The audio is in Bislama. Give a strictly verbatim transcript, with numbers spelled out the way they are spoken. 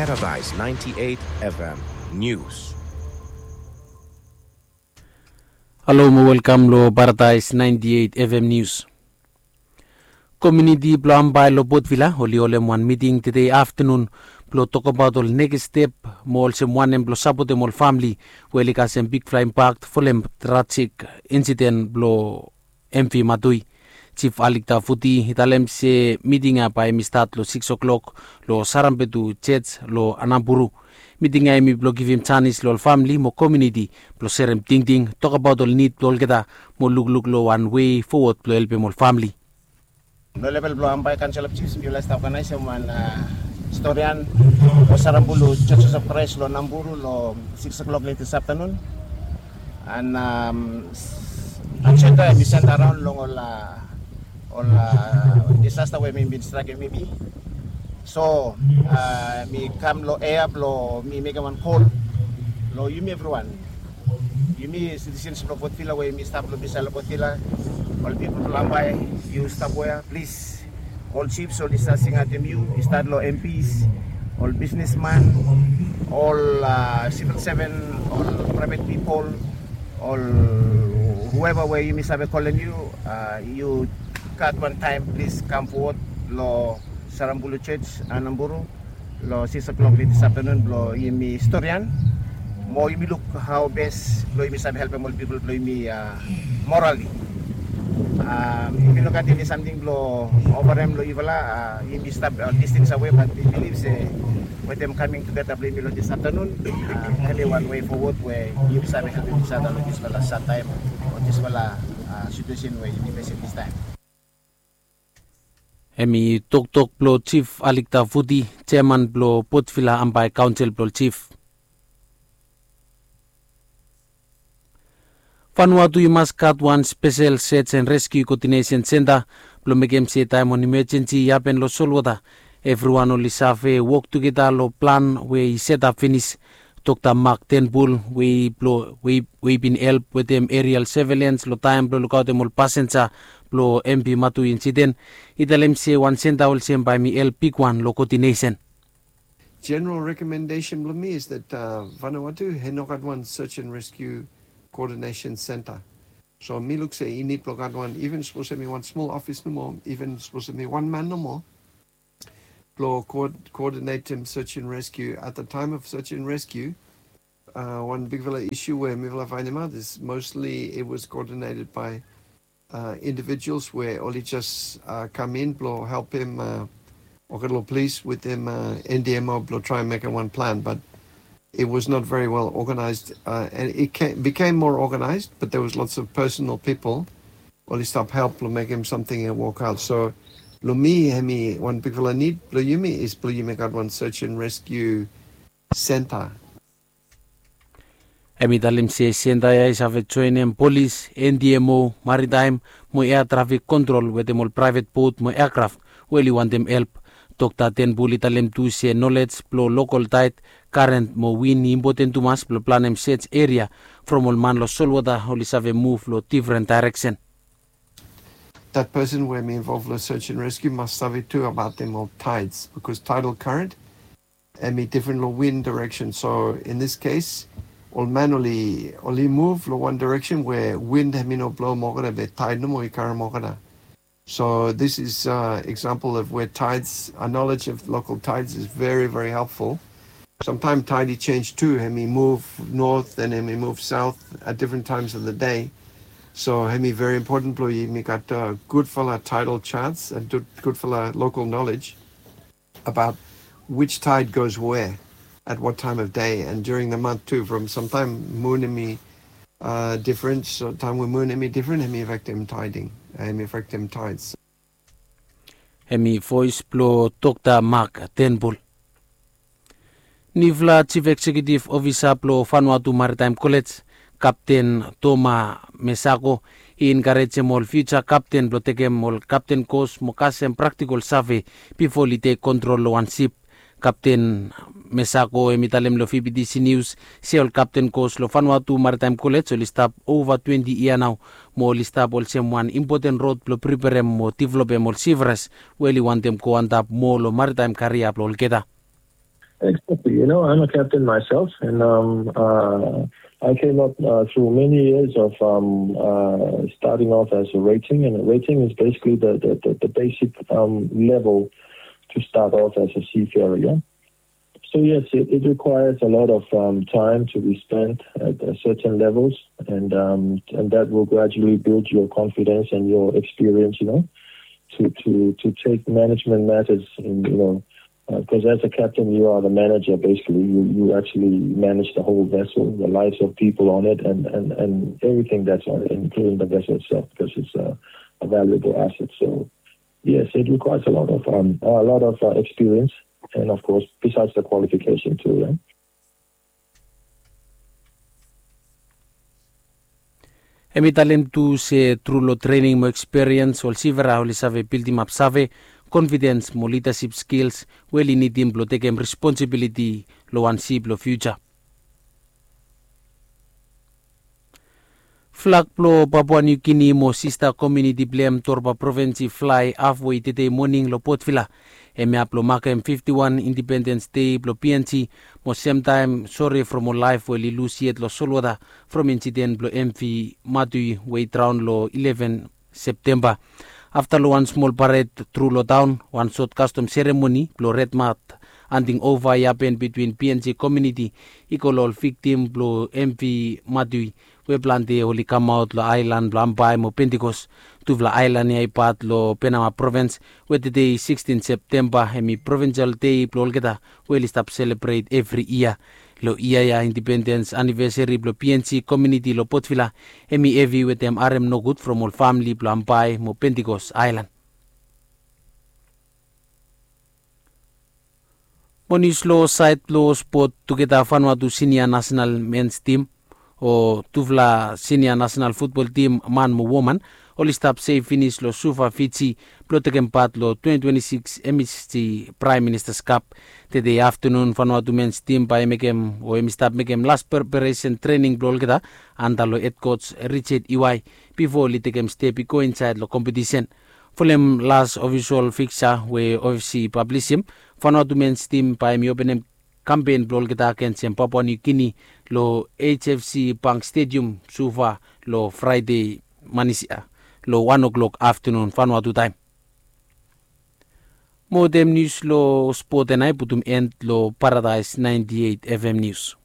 Paradise ninety-eight F M News. Halo mo welkam lo Paradise ninety-eight F M News. Komuniti blo Ambae lo Port Vila oli holem wan miting tede aftenun blo tokbaot ol nekis step mo olsem wanem blo sapotem ol famili we oli kasem bigfala impakt folem trajik insiden blo M V Matui. Jif Alikta Futi i talem se miting ya bae hemi stat lo sikis o'klok lo Sarambetu Jej lo Anamburu. Miting ya hemi blo givim janis lo ol famili mo komuniti blo serem tingting, tokbaot ol nid blo olgeta mo lukluk lo wan wei fowod blo helpem ol famili. Lo level blo Ambae Council of Chiefs mifala i stap oganaesem wan storian lo Sarambulu Churches of Christ lo Anamburu lo sikis o'klok late this afternoon. And ajenda hemi senta raon long ol ol disasta we mi bin strakem yumi. So mi kam lo ea blo mi mekem wan kol lo yumi evriwan, yumi sitisens blo Port Vila we yumi stap lo bisaed lo Port Vila, ol pipol blo Ambae, yu stap we ya plis. Ol jifs oli stat singaotem yu, i stat lo M Ps, ol bisnesman, ol sivil seven, ol praevet pipol, ol hueva we yumi save kolem yu, yu gat wan taem plis kam fowod lo Sarambulu Jej Anamburu lo sikis o'klok late this afternoon blo yumi storian mo yumi luk hao bes blo yumi save helpem ol pipol blo yumi morali. Yumi no gat eni samting blo ofarem lo yufala. Yumi stap distens awe, bat mi bilif se wetem kaming tugeta blo yumi lo this afternoon hemi wan wei fowod we yumi save helpem isada lo disfala sad taem o disfala situesen we yumi fesem this taem. Hemi toktok blo Jif Alikta Futi, jeaman blo Port Vila Ambae Kaonsel blo Jif. Vanuatu i mas gat wan spesel Search and Rescue Koodinesen Senta blo mekem se taem wan imejensi i hapen lo solwota, evriwan oli save wok tugeta lo plan we i setap finis. Dokta Mark Turnbull we i bin help wetem aerial surveillance lo taem blo lukaotem ol pasenja blo M V Matui insiden, i talem se wan senta olsem bae hemi help bigwan lo koodinesen. General recommendation blo mi is that Vanuatu i no gat wan search and rescue coordination center. So mi luk se i nid blo gat wan, even sapos hemi wan smol ofis nomo, even sapos hemi wan man nomo blo coordinatem search and rescue. At the time of search and rescue, wan bigfala isu we mifala faenemaot is mostly it was coordinated by individuals we oli jes kam in blo helpem olgeta lo polis wetem N D M O blo traem mekem wan plan, but it was not very well organized. And it became more organized, but there was lots of personal people oli stap help blo mekem samting i wokaot. So lo mi hemi wan bigfala nid blo yumi is blo yumi gat wan search and rescue center. Hemi talem se senta ya i save joenem polis, N D M O, maritaem mo ea trafik kontrol wetem ol praevet bot mo eakraf we oli wantem help. Dokta Turnbull i talem tu se nolej blo lokol taed, karen mo win i impoten tumas blo planem search eria from ol man lo solwota oli save muv lo difren daereksen. That person we hemi involve lo search and rescue mas save tu abaotem ol tides, because tidal current hemi difren lo win direction. So in this case, ol man oli muv lo wan direction we win hemi no blo moa olgeta be tide nomo i karem olgeta. So this is example of where tides, a knowledge of local tides is very, very helpful. Sometimes tide i jenj tu, hemi muv north and hemi muv south at different times of the day. So hemi very important blo yumi gat gudfala tidal charts and gudfala local knowledge about which tide goes where at what time of day and during the month too. From sometimes mun hemi difren, so taem we mun hemi difren hemi afektem tiding, hemi afektem tides. Hemi voes blo Dokta Mark Turnbull. Nifala Jif Eksekiutif Ofisa blo Vanuatu Maritaem Kolej, Kapten Toma Mesako, i enkarejem ol fiuja kapten blo tekem ol kapten kos mo kasem praktikol save bifo oli tek kontrol lo wan sip. Kapten Mesako hemi talem lo V B T C News se ol kapten kos lo Vanuatu Maritaem Kolej oli stap ova twenti yia nao mo oli stap olsem wan impoten rod blo priperem mo developem ol sifras we oli wantem go antap moa lo maritaem karia blo olgeta. Exactly. You know, I'm a captain myself, and um, uh, I came up uh, through many years of um, uh, starting off as a rating, and rating is basically the, the, the, the basic um, level to start off as a seafarer. Yeah? So yes, it, it requires a lot of um, time to be spent at uh, certain levels, and um, and that will gradually build your confidence and your experience. You know, to to to take management matters in you know because as a captain, you are the manager, basically. You, you actually manage the whole vessel, the lives of people on it, and, and, and everything that's on it, including the vessel itself, because it's a, a valuable asset. So, yes, it requires a lot of um, a lot of uh, experience, and of course, besides the qualification too. Yeah? Hem i talem tu se tru long trening mo eksperiens ol sivera oli save bildimap save, konfidens mo lidasip skils we oli nidim blong tekem responsibiliti long wan sip long fiuja. Flag blong Papua Niu Gini mo sista komiuniti blong hem Torba provins i flae hafwe tedei moning long Port Vila. Hem i hap long makem fifti wan Indipendens Dei blong PNG mo semtaem sore from ol laef we oli lus yet long solwota from insiden blong MV Matui we i draon long ileven Septemba. Afta long wan smol pared tru long taon, wan sot kastom seremoni blong Red Mat handing ova i hapen bitwin PNG komiuniti i go long ol viktim blong MV Matui we plante oli kamaot long aelan blong Ambae mo Pentikos. Tufala aelan ya i pat long Penama provins we tedei sikstin Septemba hem i provinsel dei blong olgeta we oli stap selebret evri yia. Long yia ya indipendens anivesari blong PNG komiuniti long Port Vila hem i hevi wetem harem nogud from ol famili blong Ambae mo Pentikos aelan. Mo nius long saed blong spot, tugeta Vanuatu sinia nasenal mens tim o tufala sinia nasenal futbol tim man mo woman oli stap sef finis long Suva, Fiji blong tekem pat long twenti twenti sikis MSG Praem Ministas Kap. Tedei aftanun Vanuatu mens tim bae i mekem o hem i stap mekem las preparesen trening blong olgeta anda long hed kots Richard Iwai bifo oli tekem step i go insaed long kompetisen. Folem las ofisol fiksa we OFC i pablisim, Vanuatu mens tim bae hem i openem kampen blong olgeta agensem Papua Niu Gini long HFC Bank Stedium Suva long Fraede manis ya long wan oklok aftanun Vanuatu taem. Mo wetem nius long spot ya nao i putum en long Paradaes naenti eit FM nius.